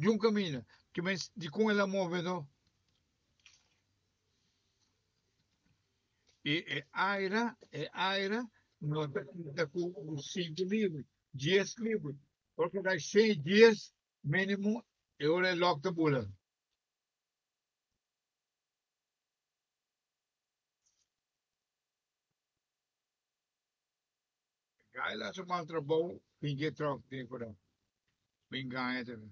Djun kaminda. Ke men dikon el a move no? I e aire, e aire no ta kita ku sinku libra, dies libra. Ora ku dai seis, dies minimo e ora e lòk ta bula. Gai la su mal trabou bin ke tròk den ku nan. Bin gaña tambe.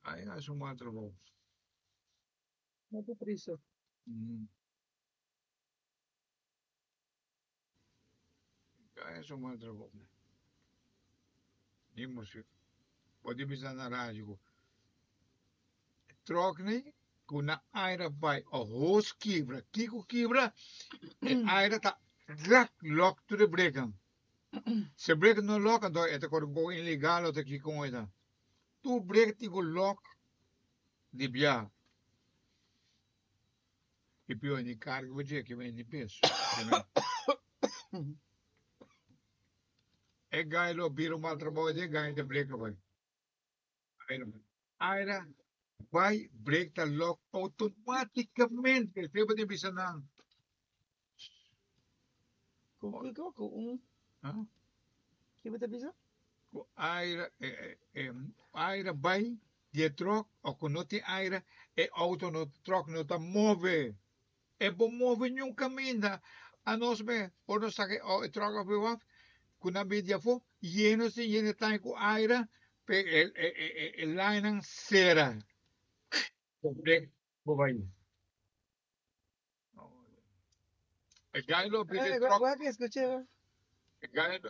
Gai la su mal trabou. No te tristo. Gai su mal trabou. Ni musik. Bo di bisa na radio ku tròk ni ku na aire bai o hos kibra. Kiko kibra? E aire ta rak lòk tur e brekan. Si e brek no lòk anto e ta kore un poko ilegal o ta kiko e ta. Tur brek tin ku lòk di biaha. I pio ni karga bo dje ki ni peso. E gai lo bira un mal trabou e gai ta breka bai. Aira bai. Aira bai brek ta lòk outomátikamente. Esei bo tin bisa nan. Ku kiko? Ku un? Ki bo ta bisa? Ku aira aira bai di e tròk o ku no tin aira e outo no tròk no ta move. E bo move niun kaminda. Anos me ora nos saka e tròk af e waf ku nan bin di afó yeno sin yena e tanki ku aira pe e linenan sera. Bo bai. E gai lo bira e tròk. Wak escuché. E gai lo.